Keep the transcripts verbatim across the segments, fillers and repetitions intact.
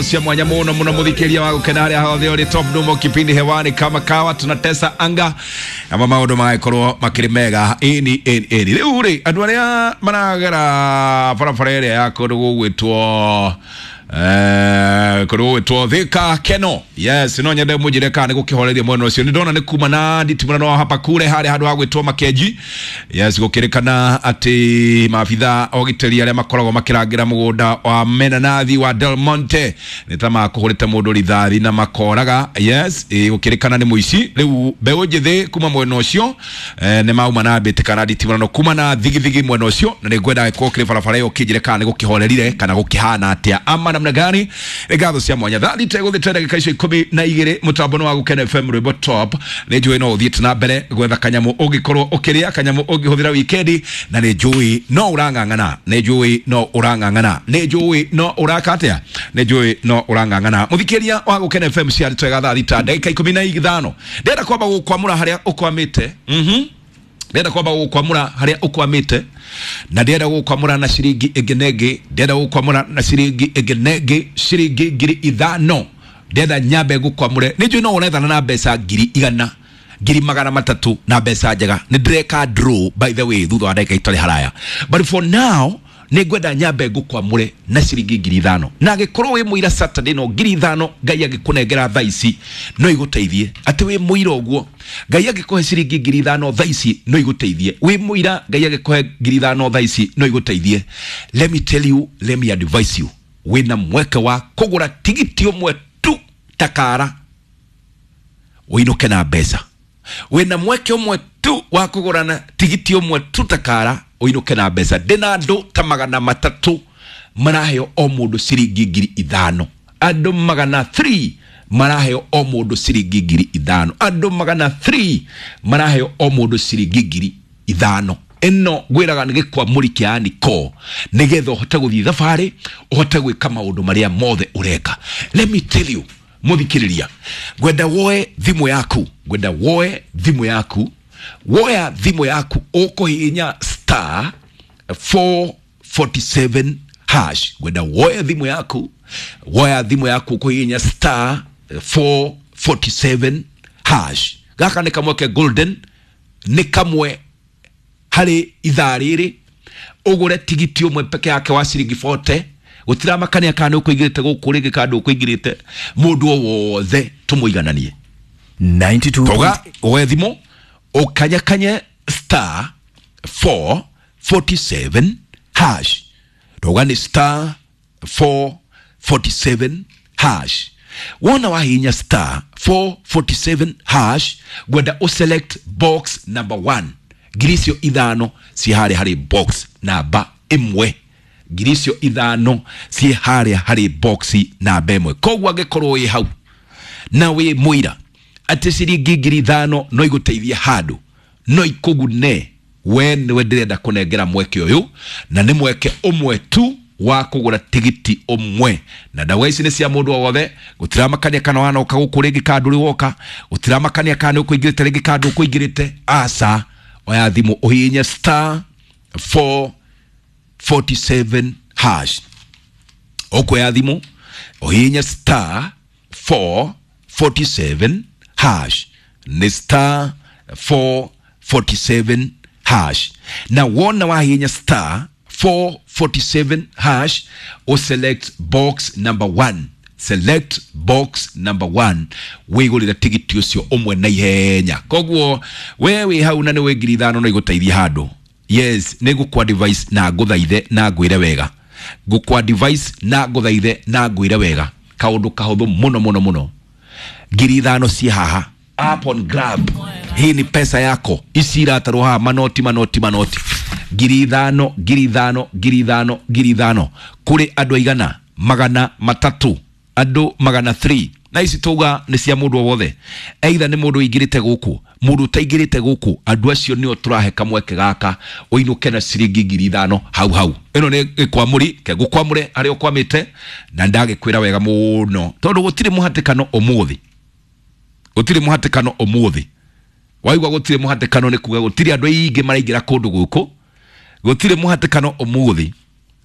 Cia mwanya muno muno muthikiria wa gukena haria hothe uri top numo kipindi hewani kama kawa tunatesa anga ama maundu magakorwo makiri mega ini ini ini riu ri andu aria maragera barabara ĩrĩa ya kũndũ gũgwĩtwo eh kũndũ gũgwĩtwo Thika Keno. Yes, no nyende mũnjĩre kana nĩ gũkĩhoreria mwena ũcio. Nĩ ndona nĩ kuma na nditimũrano wa hapa kure harĩa handũ ha gwĩtwo Makenji. Yes, gũkĩrĩkana atĩ maabitha ogitĩri arĩa makoragwo makĩrangĩra mũgũnda wa menanathi wa Del Monte nĩ ta makũhũrĩte mũndũ rithathi na makoraga. Yes, ĩ, gũkĩrĩkana nĩ mũici. Rĩu mbeũ njĩthĩ kuma mwena ũcio eh, nĩ mauma na mbĩtĩka nditimũrano kuma na thigithigi mwena ũcio, na nĩ ngwenda gĩkorwo kĩrĩ barabara ĩyo kĩnjĩre kana nĩ gũkĩhorerire kana gũkĩhana atĩa ama namna gani. Nĩ ngatho cia mwanya thaa thita ĩgũthĩte ndagĩka icio ikũmi na igĩrĩ mũtambo nĩ wa Gũkena F M rwĩmbo top. Nĩ njũĩ no ũthiĩte na mbere gwetha kanyamũ ũngĩkorwo ũkĩrĩa, kanyamũ ũngĩhũthĩra wikendi, na nĩ njũĩ no ũrang'ang'ana, nĩ njũĩ no ũrang'ang'ana, nĩ njũĩ no ũraka atĩa, nĩ njũĩ no ũrang'ang'ana. Mũthikĩria wa Gũkena F M cia twega thaa thita ndagĩka ikũmi na ithano, ndĩrenda kwamba gũkwamũra harĩa ũkwamĩte. Mhm, ndĩrenda kwamba gũkwamũra harĩa ũkwamĩte, na ndĩrenda gũkwamũra na ciringi ĩngĩ na ĩngĩ, ndĩrenda gũkwamũra na ciringi ĩngĩ na ĩngĩ, ciringi ngiri ithano. Ndĩrenda nyambe ngũkwamũre. Nĩ njũĩ no ũrethana na mbeca ngiri igana, ngiri magana matatũ na mbeca njega. Nĩ ndĩreka draw by the way thutha wa ndagĩka itarĩ haraya, but for now nĩ ngwenda nyambe ngũkwamũre na ciringi ngiri ithano. Na angĩkorwo wĩ mũira Saturday no ngiri ithano Ngai angĩkũnengera thaa ici no igũteithie. Atĩ wĩ mũira ũguo Ngai angĩkũhe ciringi ngiri ithano thaa ici no igũteithie. Wĩ mũira Ngai angĩkũhe ngiri ithano thaa ici no igũteithie. Let me tell you, let me advise you, wĩna mweke wa kũgũra tigiti ũmwe tu takara ũinũke na mbeca. Wĩna mweke ũmwe tu wa kũgũra na tigiti ũmwe tu takara ũinũke na mbeca. Ndĩna andũ ta magana matatũ maraheo o mũndũ ciringi ngiri ithano. Andũ magana three maraheo o mũndũ ciringi ngiri ithano. Andũ magana three maraheo o mũndũ ciringi ngiri ithano. Ĩno ngwĩraga nĩ gĩkwamũri kĩa Aniko, nĩgetha ũhote gũthiĩ thabarĩ, ũhote gwĩka maũndũ marĩa mothe ũreka. Let me tell you, mũthikĩrĩria, ngwenda woe thimũ yaku, ngwenda woe thimũ yaku, woya thimũ yaku ũkũhihinya star four forty-seven hash. Ngwenda woe thimũ yaku, woya thimũ yaku ũkũhihinya star four forty-seven hash. Gaka nĩ kamwe ke golden, nĩ kamwe harĩ ithaa rĩrĩ ũgũre tigiti ũmwe peke yake wa ciringi forty. Gũtiramakania kana nĩ ũkũingĩrĩte gũkũ rĩngĩ kana ndũkũingĩrĩte, mũndũ o wothe tũmũigananie. ninety-two Toga woe thimũ ũkanyakanye star four forty-seven hash. Toga nĩ star four forty-seven hash. Wona wahihinya star four forty-seven hash, ngwenda ũselect box number one. Ngiri icio ithano ciĩ harĩa harĩ box namba ĩmwe. Ngiri icio ithano ciĩ harĩa harĩ box namba ĩmwe. Koguo angĩkorwo wĩ hau na wĩ mũira atĩ ciringi ngiri ithano no igũteithie handũ, no ikũgune, we nĩwe ndĩrenda kũnengera mweke ũyũ, na nĩ mweke ũmwe tu wa kũgũra tigiti ũmwe. Na ndawa ici nĩ cia mũndũ o wothe, gũtiramakania kana wanoka gũkũ rĩngĩ kana ndũrĩ woka, gũtiramakania kana nĩ ũkũingĩrĩte rĩngĩ kana ndũkũingĩrĩte. Aca, oya thimũ ũhihinye star four forty-seven hash. Ũkuoya thimũ ũhihinye star four forty-seven hash. Nĩ star four forty-seven hash. Na wona wahihinya star four forty-seven hash, o select box number one. Select box number one, wĩgũrĩre tigiti ũcio ũmwe na ihenya. Koguo we wĩ hau na nĩ wĩ ngiri ithano no igũteithie handũ. Yes, nĩ ngũkwa device na ngũthaithe na ngwĩre wega. Ngũkwa device na ngũthaithe na ngwĩre wega. Kaũndũ kahũthũ mũno mũno mũno. Ngiri ithano ciĩ haha. Up on grab. Hii ni pesa yako. Ici iratarwo haha manoti manoti manoti. Ngiri ithano, ngiri ithano, ngiri ithano, ngiri ithano. Kũrĩ andũ aigana magana matatũ. Andũ magana three. Na ici tuga nĩ cia mũndũ o wothe. Either nĩ mũndũ ũingĩrĩte gũkũ, mũndũ ũtaingĩrĩte gũkũ, andũ acio nĩo tũrahe kamweke gaka ũinũke na ciringi ngiri ithano hau hau. Ĩno nĩ gĩkwamũri, ke ngũkwamũre harĩa ũkwamĩte, na ndagĩkwĩra wega mũno tondũ gũtirĩ mũhatĩkano ũmũthĩ. Gũtirĩ mũhatĩkano ũmũthĩ. Waigua gũtirĩ mũhatĩkano nĩ kuga gũtirĩ andũ aingĩ maraingĩra kũndũ gũkũ. Gũtirĩ mũhatĩkano ũmũthĩ.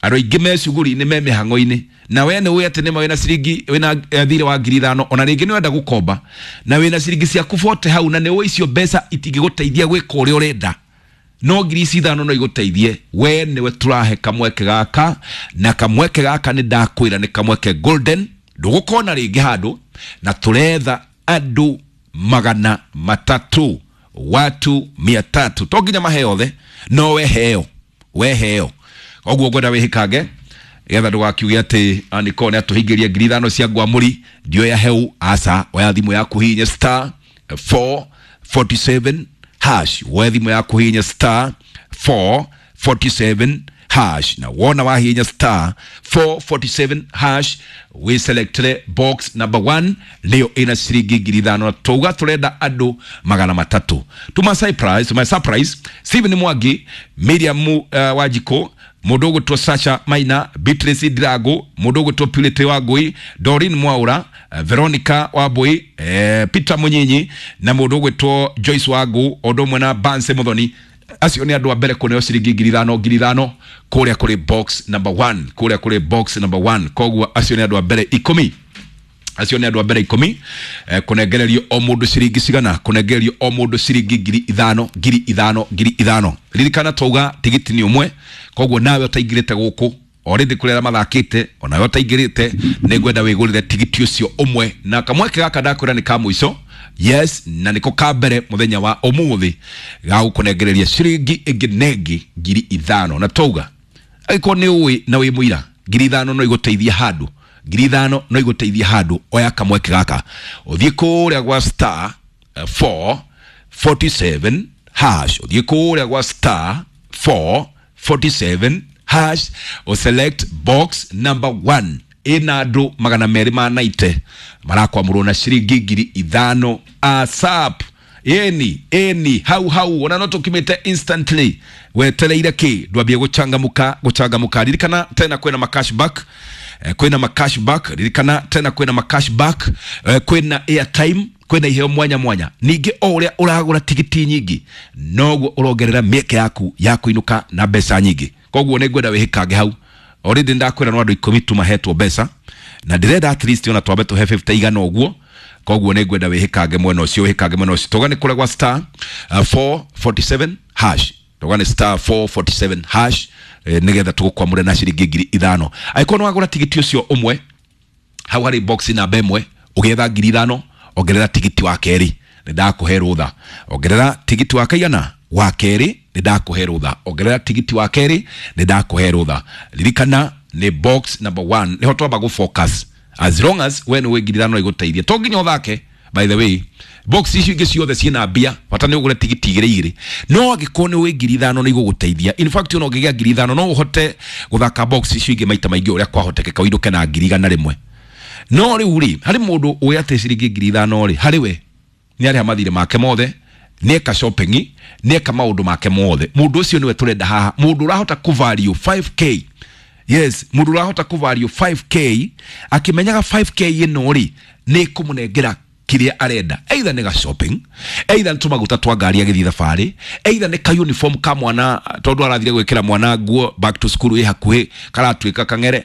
Andũ aingĩ me cuguri-inĩ, me mĩhang'o-inĩ, na we nĩ ũĩ atĩ nĩma wĩna ciringi, wĩna thirĩ wa ngiri ithano, ona rĩngĩ nĩ wenda gũkomba na wĩna ciringi ciaku bote hau, na nĩ ũĩ icio mbeca itingĩgũteithia gwĩka ũrĩa ũrenda, no ngiri ici ithano no igũteithie. We nĩwe tũrahe kamweke gaka, na kamweke gaka nĩ ndakwĩra nĩ kamweke golden, ndũgũkona rĩngĩ handũ, na tũretha andũ magana matatũ, watu mia tatu. To nginya mahe othe, no we heo, we heo. Koguo ngwenda wĩhĩkange getha ndũgakiuge atĩ Aniko nĩ atũhingĩria ngiri ithano cia ngwamũri ndioya heu. Aca, oya thimũ yaku hihinye star four forty seven hash, woe thimũ yaku hihinye star four forty seven hash, na wona wahihinya star four forty seven hash wĩ selectere box number one, nĩyo ĩna ciringi ngiri ithano, na twauga tũrenda andũ magana matatũ. Tuma surprise, tuma surprise Stephen Mwangi, Miriam uh, Wanjikũ, mũndũ ũgwĩtwo Sasha Maina, Beatrice Ndirago, mũndũ ũgwĩtwo Purity Wangui, Doreen Mwaura, Veronica Wambui, eh, Peter Munyinyi na mũndũ ũgwĩtwo Joyce Wangu, o ũndũ ũmwe na Banse Muthoni. Acio nĩ andũ a mbere kũneo ciringi ngiri ithano ngiri ithano kũrĩa kũrĩ box number one, kũrĩa kũrĩ box number one. Koguo acio nĩ andũ a mbere ikũmi, acio nĩ andũ a mbere ikũmi, eh, kũnengererio o mũndũ ciringi cigana? Kũnengererio o mũndũ ciringi ngiri ithano ngiri ithano ngiri ithano. Ririkana twauga tigiti nĩ ũmwe, koguo nawe ũtaingĩrĩte gũkũ already kũrĩa arĩa mathakĩte, onawe ũtaingĩrĩte nĩ ngwenda wĩgũrĩre tigiti ũcio ũmwe, na kamweke gaka ndakwĩra nĩ ka mũico, yes, na nĩko ka mbere mũthenya wa ũmũthĩ ga gũkũnengereria ciringi ĩngĩ na ĩngĩ ngiri ithano. Na twauga angĩkorwo nĩ ũĩ na wĩ mũira ngiri ithano no igũteithie handũ, ngiri ithano no igũteithie handũ, oya kamweke gaka ũthiĩ kũrĩa gwa star four forty seven hash, ũthiĩ kũrĩa gwa star four forty seven hash, ũselect box number one, ĩna andũ magana merĩ ma naite marakwamũrwo na ciringi ngiri ithano asap. Ĩni ĩni hau hau, ona no tũkimĩte instantly, wetereire kĩ? Ndwambie gũchangamuka gũchangamuka. Ririkana tena kwĩna ma cashback, eh, kwĩna ma cashback, ririkana tena kwĩna ma cashback, eh, kwĩna airtime, kwĩna iheo mwanya mwanya. Ningĩ o ũrĩa ũragũra tigiti nyingĩ noguo ũrongerera mĩeke yaku ya kũinũka na mbeca nyingĩ. Koguo nĩ ngwenda wĩhĩkange hau. Already ndakwĩra no andũ ikũmi tu mahetwo mbeca, na ndĩrenda at least ona twambe tũhe fifty igana ũguo. Koguo nĩ ngwenda wĩhĩkange mwena ũcio, wĩhĩkange mwena ũcio. Tũga nĩ kũrĩa gwa star uh, four forty seven hash, tũga nĩ star four forty seven hash, eh, nĩgetha tũgũkwamũre na ciringi ngiri ithano. Angĩkorwo nĩ wagũra tigiti ũcio ũmwe hau harĩ box namba ĩmwe ũgĩetha ngiri ithano, ongerera tigiti wa kerĩ, nĩ ndakũhe rũtha. Ongerera tigiti wa kaigana wa kerĩ, nĩ ndakũhe rũtha. Ongerera tigiti wa kerĩ, nĩ ndakũhe rũtha. Ririkana nĩ box number one nĩho twamba gũ focus. As long as we nĩ wĩ ngiri ithano igũteithie, to nginya ũthake. By the way, box icio ingĩ ciothe ciĩna mbia, bata nĩ ũgũre tigiti igĩrĩ igĩrĩ, no angĩkorwo nĩ wĩ ngiri ithano nĩ igũgũteithia. In fact, ona ũngĩgĩa ngiri ithano no ũhote gũthaka box icio ingĩ maita maingĩ ũrĩa kwahotekeka, ũinũke na ngiri igana rĩmwe. No rĩu rĩ, harĩ mũndũ ũĩ atĩ ciringi ngiri ithano rĩ, harĩ we nĩ arĩha mathirĩ make mothe, nĩ eka shopping, nĩ eka maũndũ make mothe. Mũndũ ũcio nĩwe tũrenda haha, mũndũ ũrahota kũ value five K. Yes, mũndũ ũrahota kũ value five K akĩmenyaga five K ĩno rĩ nĩ ĩkũmũnengera kĩrĩa arenda, either nĩ ga shopping, either nĩ tũmaguta twa ngari agĩthiĩ thabarĩ, either nĩ ka uniform ka mwana tondũ arathire gwĩkĩra mwana nguo back to school ĩ hakuhĩ karatuĩka kang'ere.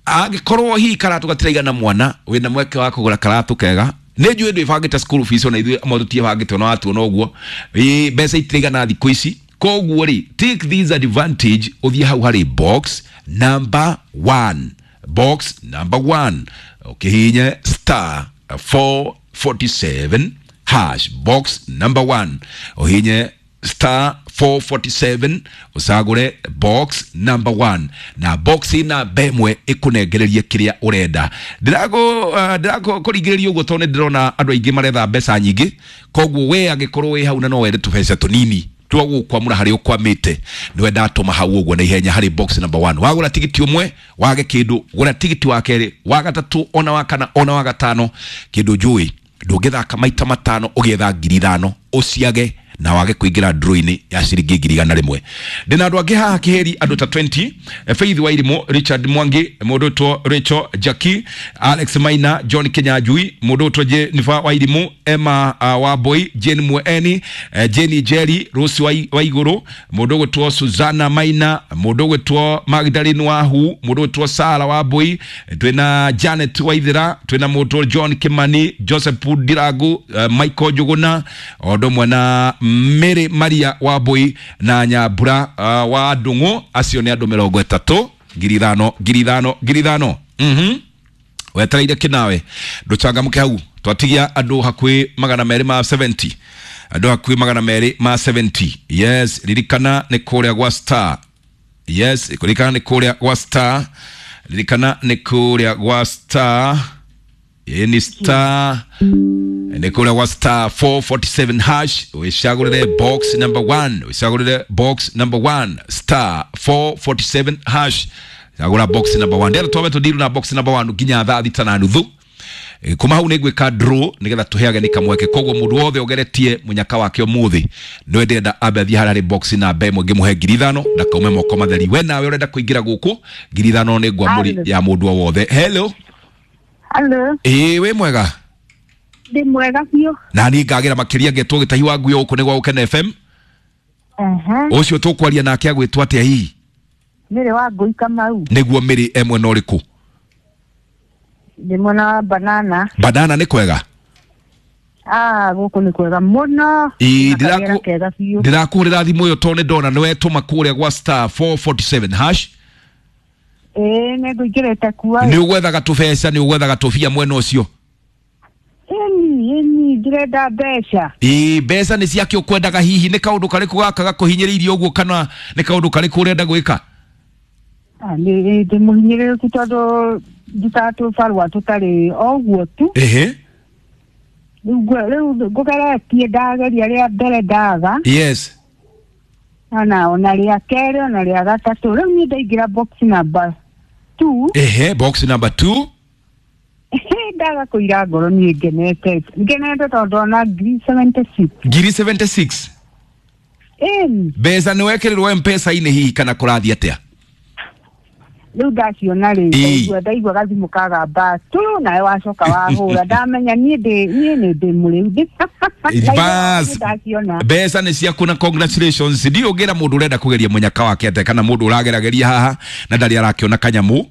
Angĩkorwo hihi karatũ gatiraigana mwana, wĩna mweke wa kũgũra karatũ kega. Nĩ njũĩ ndwĩbangĩte school fees, ona ithuĩ amwe tũtiĩbangĩte, ona watuona ũguo ĩ mbeca itiraigana thikũ ici. Koguo rĩ, take this advantage, ũthiĩ hau harĩ box number one, box number one, ũkĩhinye star four forty seven hash, box number one, ũhinye star four forty seven ũcagũre box number one, na box namba ĩmwe ĩkũnengererie kĩrĩa ũrenda. Ndĩrakũ uh, ndĩrakũringĩrĩria ũguo tondũ nĩ ndĩrona andũ aingĩ maretha mbeca nyingĩ. Koguo we angĩkorwo wĩ hau na no wende tũbeca tũnini twa gũkwamũra harĩa ũkwamĩte, nĩwe ndatũma hau ũguo na ihenya harĩ box number one. Wagũra tigiti ũmwe wage kĩndũ, gũra tigiti wa kerĩ, wa gatatũ, ona wa kana, ona wa gatano. Kĩndũ njũĩ ndũngĩthaka maita matano ũgĩetha ngiri ithano ũciage na wage kuingira draw-inĩ ya ciringi ngiri igana rĩmwe. Ndĩna andũ angĩ haha kĩhĩri, andũ ta mĩrongo ĩĩrĩ, Faith Wairimu, Richard Mwangi, mũndũ ũtwo Rachel Jackie, Alex Maina, John Kinyanjui, mũndũ ũtwo Jennifer Wairimu, Emma uh, Wambui, Jane Mweni, eh, Jane Jerry, Rose Waiguru, mũndũ ũgwĩtwo Susanna Maina, mũndũ ũgwĩtwo Magdalene Wahu, mũndũ ũgwĩtwo Sara Wambui, twĩna Janet Waithera, twĩna mũndũ John Kimani, Joseph Ndirangu, uh, Michael Njuguna, o ũndũ ũmwe na Mary Maria Wambui na Nyambura uh, wa Ndung'u. Acio nĩ andũ mĩrongo ĩtatũ, ngiri ithano, ngiri ithano, ngiri ithano. mhm wetereire kĩnawe ndũcangamũke hau. Twatigia andũ hakuhĩ magana merĩ ma mĩrongo mũgwanja, andũ hakuhĩ magana merĩ ma mĩrongo mũgwanja. Yes, ririkana nĩ kũrĩa gwa star. Yes, ririkana nĩ kũrĩa gwa star, ririkana nĩ kũrĩa gwa star. Ĩ ni star, nĩ kũrĩa gwa star four forty-seven hash, wĩcagũrĩre box number one, wĩcagũrĩre box number one, star four forty-seven hash, cagũra box number one. Ndĩrenda twambe tũndiru na box number one nginya thaa thita na nuthu. Eh, kuma hau nĩ ngwĩka draw nĩgetha tũheage nĩ kamweke. Koguo mũndũ wothe ũgeretie mũnyaka wake ũmũthĩ, nĩwe ndĩrenda ambe athiĩ harĩa harĩ box namba ĩmwe, ngĩmũhe ngiri ithano ndakaume moko matheri. We nawe ũrenda kũingĩra gũkũ, ngiri ithano nĩ ngwamũri ya mũndũ o wothe. Hello. Hello. Ĩĩ, wĩ mwega? Ndĩ mwega biũ. Na niĩ ngagĩra makĩria. Ngetwo Gĩtahi wa Nguyo, gũkũ nĩ gwa Gũkena F M. Ehe. Ũcio tũkwaria nake agwĩtwo atĩa hihi? Mĩrĩ wa Ngũi Kamau. Nĩguo, Mĩrĩ e mwena ũrĩkũ? Ndĩ mwena wa Banana. Banana nĩ kwega? Ah, gũkũ nĩ kwega mũno. Ĩĩ, Na ndĩrakũ- karĩera kega biũ. Ndĩrakũhũrĩra thimũ ĩyo tondũ nĩ ndona nĩ wetũma kũrĩa gwa star four forty-seven hash. Ĩĩ, nĩ ngũingĩrĩte kuo. Nĩ ũgwethaga tũbeca, nĩ ũgwethaga tũbia mwena ũcio? Ĩni, ĩni, ndĩrenda mbeca. Ĩĩ, mbeca nĩ ciake ũkwendaga. Hihi nĩ kaũndũ karĩkũ gaka gakũhinyĩrĩirie ũguo, kana nĩ kaũndũ karĩkũ ũrenda gwĩka? Ah, nĩ ndĩ mũhinyĩrĩrĩku tondũ ndutaga tũbarũa tũtarĩ o ũguo tu. Ehe. Rĩu ngwe- rĩu ngũgeretie, ndageria rĩa mbere ndaga. Yes Ona ona rĩa kerĩ, ona rĩa gatatũ. Rĩu niĩ ndaingĩra box number two. Ehe, box number two. Ndaga kũira ngoro, niĩ ngenete ngenete tondũ ona ngiri mĩrongo mũgwanja na ithathatũ. Ngiri mĩrongo mũgwanja na ithathatũ. Ĩni. Mbeca nĩ wekĩrĩrwo M-Pesa-inĩ hihi, kana kũrathiĩ atĩa? Rĩu ndaciona rĩ, Ĩĩ. ndaigua ndaigua gathimũ kagamba tu, nawe wacoka wahũra, ndamenya niĩ ndĩ niĩ nĩ ndĩ mũrĩu. Bas. Ndaciona. Mbeca nĩ ciaku na congratulations. Ndiũ ngĩra mũndũ ũrenda kũgeria mũnyaka wake atĩa, kana mũndũ ũragerageria haha na ndarĩ arakĩona kanyamũ?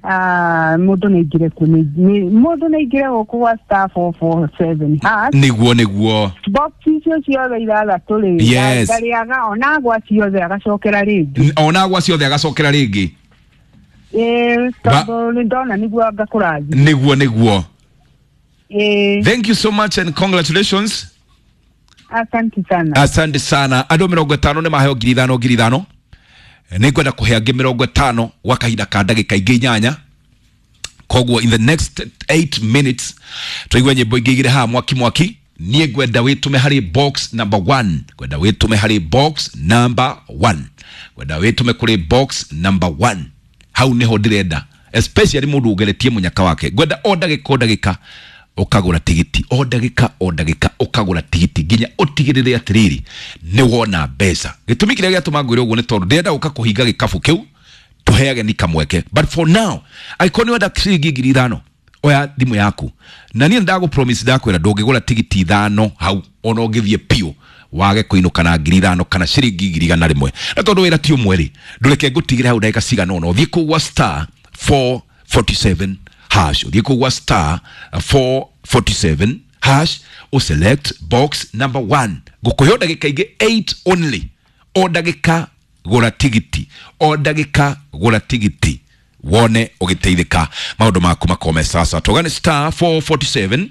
Ah, mũndũ nĩ aingĩre kuo, nĩ- nĩ- mũndũ nĩ aingĩre gũkũ gwa star four four seven hash. Nĩguo, nĩguo. Box icio ciothe ithathatũ rĩ, Yes. ndarĩaga ona gwa ciothe agacokera rĩngĩ. Ona gwa ciothe agacokera rĩngĩ. Ĩĩ, Ba- tondũ nĩ ndona nĩguo ngakũrathi. Nĩguo, nĩguo. Ĩĩ. Thank you so much and congratulations. Asante sana. Asante sana. Andũ mĩrongo ĩtano nĩ maheo ngiri ithano, ngiri ithano. Nĩ ngwenda kũhe angĩ mĩrongo ĩtano gwa kahinda ka ndagĩka ingĩ inyanya. Koguo in the next eight minutes tũigue nyĩmbo ingĩ igĩrĩ haha mwaki mwaki. Niĩ ngwenda wĩtũme harĩ box number one, ngwenda wĩtũme harĩ box number one, ngwenda wĩtũme kũrĩ box number one. Hau nĩho ndĩrenda, especially mũndũ ũgeretie mũnyaka wake. Ngwenda o ndagĩka, o ndagĩka ũkagũra tigiti, o ndagĩka, o ndagĩka ũkagũra tigiti nginya ũtigĩrĩre atĩrĩrĩ nĩ wona mbeca. Gĩtũmi kĩrĩa gĩatũma ngwĩre ũguo nĩ tondũ ndĩrenda gũka kũhinga gĩkabu kĩu, tũheage ni kamweke. But for now, angĩkorwo nĩ wenda ciringi ngiri ithano, oya thimũ yaku na niĩ ndagũ promise, ndakwĩra ndũngĩgũra tigiti ithano hau ona ũngĩthiĩ piũ wage kũinũka na ngiri ithano kana ciringi ngiri igana rĩmwe. Na tondũ wĩra ti ũmwe rĩ, ndũreke ngũtigĩre hau ndagĩka cigana ũna, ũthiĩ kũu gwa star four forty-seven hash, ũthiĩ kũu gwa star four forty-seven hash, ũselect box number one. Ngũkũhe o ndagĩka ingĩ eight only. O ndagĩka gũra tigiti, o ndagĩka gũra tigiti, wone ũgĩteithĩka, maũndũ maku makome. Sasa tũgane star four forty-seven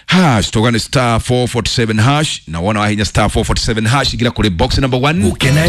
hash, tũgane star four forty-seven hash, na wona wahinya star four forty-seven hash, igira kũrĩ box number one. Gũkena.